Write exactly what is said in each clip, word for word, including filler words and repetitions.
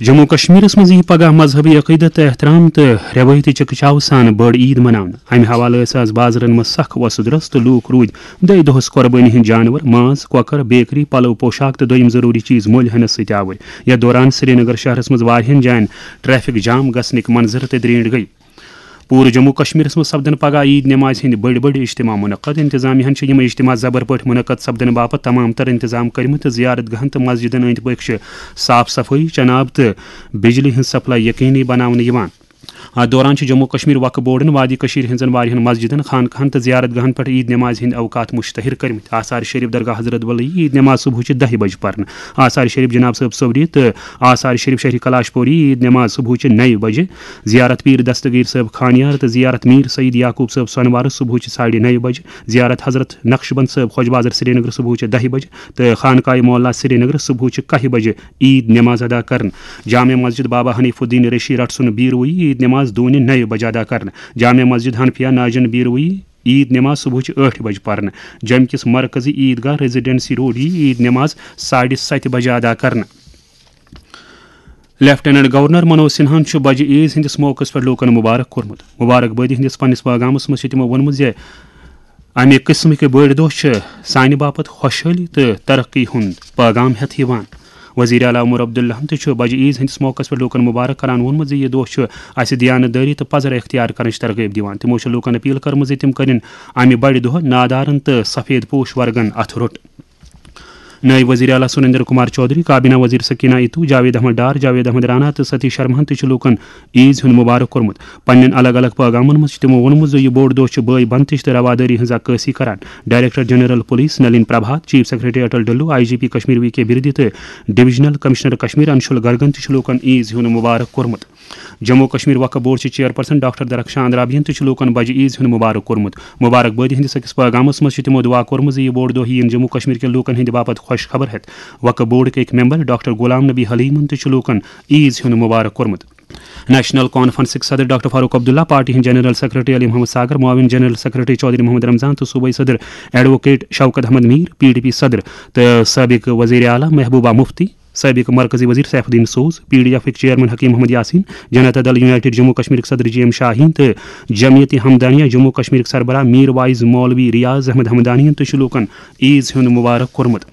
جموں کشمیرس منٛز ییہِ پگاہ مذہبی عقیدت تہٕ احترام تہٕ رٮ۪وٲیتی چکہٕ چاوٕ سان بٔڑ عید مناونہٕ۔ امہِ حوالہٕ ٲسۍ از بازرن منٛز سخ وۄسہٕ درس تہٕ لوٗکھ روٗدۍ دٔہہِ دۄہس قۄربٲنی ہٕنٛدۍ جانور، ماز، کۄکر، بیکری، پلو، پوشاک تہٕ دوٚیِم ضروٗری چیز مٔلۍ ہٮ۪نس سۭتۍ آوٕرۍ۔ یتھ دوران سرینگر شہرس منٛز واریاہن جاین ٹریفک جام گژھنٕکۍ منظر تہِ درینٹھ گٔیہِ۔ پوٗرٕ جموں کشمیرس منٛز سپدن پگاہ عید نمازِ ہٕنٛدۍ بٔڑۍ بٔڑۍ اجتماع منعقد۔ انتظامیہ ہن چھِ یِم اجتماع زبر پٲٹھۍ منعقد سپدنہٕ باپتھ تمام تر انتظام کٔرمٕتۍ تہٕ زیارت گاہن تہٕ مسجدن أنٛدۍ پٔکۍ چھِ صاف صفٲیی، چناب تہٕ بجلی ہٕنٛز سپلائی یقینی بناونہٕ یِوان۔ اتھ دوران چھِ جموں کشمیر وقف بورڈن وادی کشمیر ہٕنٛزن واریاہن مسجدن، خانقاہن تہٕ زیارت گاہن پٮ۪ٹھ عید نمازِ ہٕنٛدۍ اوقات مشتہر کٔرمٕتۍ۔ آثار شریف درگاہ حضرت بل یی عید نماز صبحٕچہِ دَہہِ بجہِ پرنہٕ۔ آثار شریف جناب صٲب صوری تہٕ آثار شریف شہری کلاش پوری عید نماز صبحٕچہِ نَیہِ بجہِ۔ زیارت پیر دستگیر صٲب خانیار تہٕ زیارت میر سعید یعقوب صٲب سۄنوارٕ صبحٕچہِ ساڑِ نَیہِ بجہِ۔ زیارت حضرت نقشبند صٲب خۄج بازر سرینگر صبحٕچہِ دَہہِ بجہِ تہٕ خانقاہ مولا سرینگر صبحٕچہِ کاہہِ بجہِ عید نماز ادا کرنہٕ۔ جامع مسجد بابا حنیف الدین ریشی رٹسُن بیروی عید نماز دوٗنہِ نَیہِ بجہِ ادا کرنہٕ۔ جامع مسجد حنفیہ ناجن بیروی عید نماز صبحٕچہِ ٲٹھِ بجہِ پرنہٕ۔ جوٚمہِ کِس مرکزی عید گاہ ریزیڈنسی روڈ یی عید نماز ساڑِ ستہِ بجہِ ادا کرنہٕ۔ لیفٹیننٹ گورنر منوج سنہاہن چھُ بجہِ عیز ہٕنٛدِس موقعس پٮ۪ٹھ لوٗکن مبارک کوٚرمُت۔ مبارکبٲدی ہٕنٛدِس پننِس پیغامس منٛز چھُ تِمو ووٚنمُت زِ امہِ قٕسمٕکۍ بٔڑۍ دۄہ چھِ سانہِ باپتھ خۄشحٲلی تہٕ ترقی ہُنٛد پیغام ہٮ۪تھ یِوان۔ وزیر اعلیٰ عمر عبداللہن تہِ چھُ بجہِ عیز ہٕنٛدِس موقعس پٮ۪ٹھ لوٗکن مبارک کران ووٚنمُت زِ یہِ دۄہ چھُ اسہِ دیانت دٲری تہٕ پزر اختیار کرنٕچ ترغیب دِوان۔ تِمو چھُ لوٗکن اپیل کٔرمٕژ زِ تِم کرن امہِ بڑِ دۄہ نادارن تہٕ سفید پوش ورگن اتھٕ روٚٹ۔ نٲیِب وزیر اعلیٰ سریندر کمار چودھری، کابینہ وزیر سکینہ اتو، جاوید احمد ڈار، جاوید احمد رانا تہٕ ستیش شرماہن تہِ چھُ لوٗکن عیز ہُنٛد مبارک کوٚرمُت۔ پننٮ۪ن الگ الگ پیغامن منٛز چھُ تِمو ووٚنمُت زِ یہِ بوٚڑ دۄہ چھُ بٲے بنتٕچ تہٕ روادٲری ہٕنٛز عکٲسی کران۔ Director general police Nalin Prabhat, chief secretary Atal Dulloo, I G P Kashmir V K Birdi تہٕ ڈویژنل کمشنر کشمیر انشول گرگن تہِ چھُ لوٗکن عیز ہُنٛد مبارک کوٚرمُت۔ جموں کشمیر وقف بورڈ چہِ چیئرپرسن ڈاکٹر درخشان رابین تہِ چھُ لوٗکن بجہِ عیز ہُنٛد مبارک کوٚرمُت۔ مبارک بٲدی ہٕنٛدِس أکِس پیغامس منٛز چھِ تِمو دُعا کوٚرمُت زِ یہِ بوٚڑ دۄہ یِیِن جموں کشمیر کٮ۪ن لوٗکن ہٕنٛدِ باپتھ خۄش خبر ہٮ۪تھ۔ وقف بورڈٕکۍ أکۍ ممبر ڈاکٹر غلام نبی حلیمن تہِ چھُ لوٗکن عیز ہُنٛد مبارک کوٚرمُت۔ نیشنل کانفرنسٕکۍ صدر ڈاکٹر فاروق عبداللہ، پارٹی ہٕنٛدۍ جنرل سیکرٹری علی محمد ساگر، معاون جنرل سیکرٹری چودھری محمد رمضان تہٕ صوبائی صدر advocate Shaukat Ahmad Mir, P D P صدر تہٕ سابق وزیر اعلیٰ محبوبہ مفتی، سابق مرکزی وزیر سیف الدین سوز، P D ایفٕکۍ chairman Hakim Muhammad Yasin, Janata دل یونائیٹڈ جموں کشمیرٕکۍ صدر جی ایم شاہین تہٕ جمعیت ہمدانیہ جموں کشمیرٕکۍ سربراہ میر واعظ مولوی ریاض احمد ہمدانین تہِ چھُ لوٗکن عیز ہُنٛد مبارک کوٚرمُت۔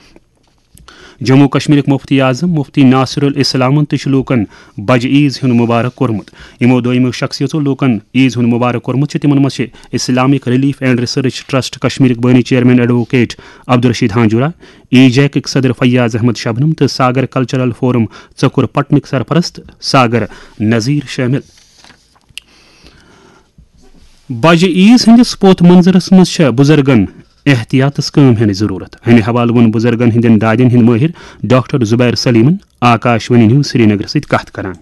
جموں کشمیرٕکۍ مفتی اعظم مفتی ناصر الاسلامن تہِ چھُ لوٗکن بجہِ عیز ہُنٛد مبارک کوٚرمُت۔ یِمو دوٚیمو شخصیژو لوٗکن عیز ہُنٛد مبارک کوٚرمُت چھُ، تِمن منٛز چھِ Islamic relief and research trust کشمیرٕکۍ بٲنی چیئرمین ایڈووکیٹ عبدالرشید ہانجورا، ایجیکٕکۍ صدر فیاض احمد شبنم تہٕ ساگر کلچرل فورم ژکُر پٹنٕکۍ سرپرست ساگر نذیر شٲمِل۔ بجہِ عیز ہٕنٛدِس پوتھ منظرس منٛز چھےٚ بُزرگن احتیاطس کٲم ہینٕچ ضروٗرت۔ امہِ حوالہٕ ووٚن بُزرگن ہٕنٛدٮ۪ن دادٮ۪ن ہٕنٛدۍ مٲہِر ڈاکٹر زبیر سلیمن آکاش وانی نیوز سرینگر سۭتۍ کتھ کران۔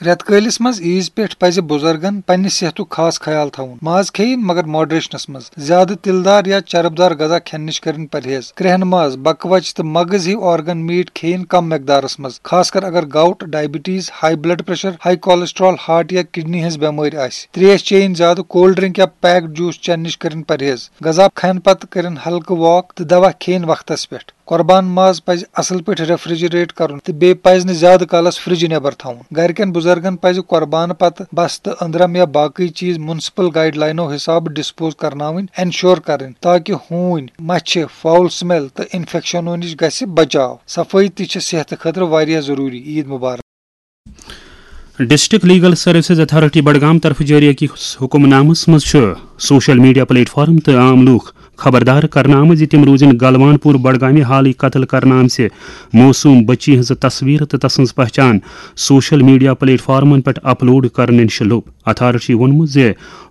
رٮ۪تہٕ کٲلِس منٛز عیز پٮ۪ٹھ پزِ بُزرگن پننہِ صحتُک خاص خیال تھاوُن۔ ماز کھیٚیِن، مگر ماڈریشنس منٛز۔ زیادٕ تِلہٕ دار یا چرب دار غذا کھٮ۪نہٕ نِش کٔرِن پرہیز۔ کرٛہن ماز، بکوچ تہٕ مغز ہِوۍ آرگن میٹ کھیٚیِن کم مقدارس منٛز، خاص کر اگر gout, diabetes, high blood pressure, high cholesterol, heart یا کڈنی ہٕنٛز بٮ۪مٲرۍ آسہِ۔ تریش چیٚیِن زیادٕ، کولڈ ڈرنک یا پیکڈ جوس چٮ۪نہٕ نِش کٔرِن پرہیز۔ غذا کھٮ۪نہٕ پتہٕ کٔرِن ہلکہٕ واک تہٕ دوا کھیٚیِن وقتس پٮ۪ٹھ۔ قۄربان ماز پزِ اصل پٲٹھۍ ریفریجریٹ کرُن تہٕ بیٚیہِ پزِ نہٕ زیادٕ کالس فرجہِ نٮ۪بر تھاوُن۔ گرِکٮ۪ن بُزرگن پزِ قۄربانہٕ پتہٕ بستہٕ، أنٛدرم یا باقٕے چیز میونسپل گائیڈ لاینو حسابہٕ ڈسپوز کرناوٕنۍ، انشور کرٕنۍ، تاکہ ہوٗنۍ، مچھِ، فاؤل سمیل تہٕ انفیکشنو نِش گژھِ بچاو۔ صفٲیی تہِ چھِ صحتہٕ خٲطرٕ واریاہ ضروری۔ عید مبارک۔ District legal services authority Budgam طرفہٕ جٲری أکِس حکم نامس منٛز چھُ سوشل میڈیا پلیٹ فارم تہٕ عام لوٗکھ خبردار کرنہٕ آمٕتۍ زِ تِم روزن گلوان پور بڈگامہِ حالٕے قتل کرنہٕ آمژِ معصوم بچی ہٕنٛز تصویر تہٕ تسٕنٛز پہچان سوشل میڈیا پلیٹ فارمن پٮ۪ٹھ اپلوڈ کرنہٕ نِش لوٚب۔ اتھارٹی ووٚنمُت زِ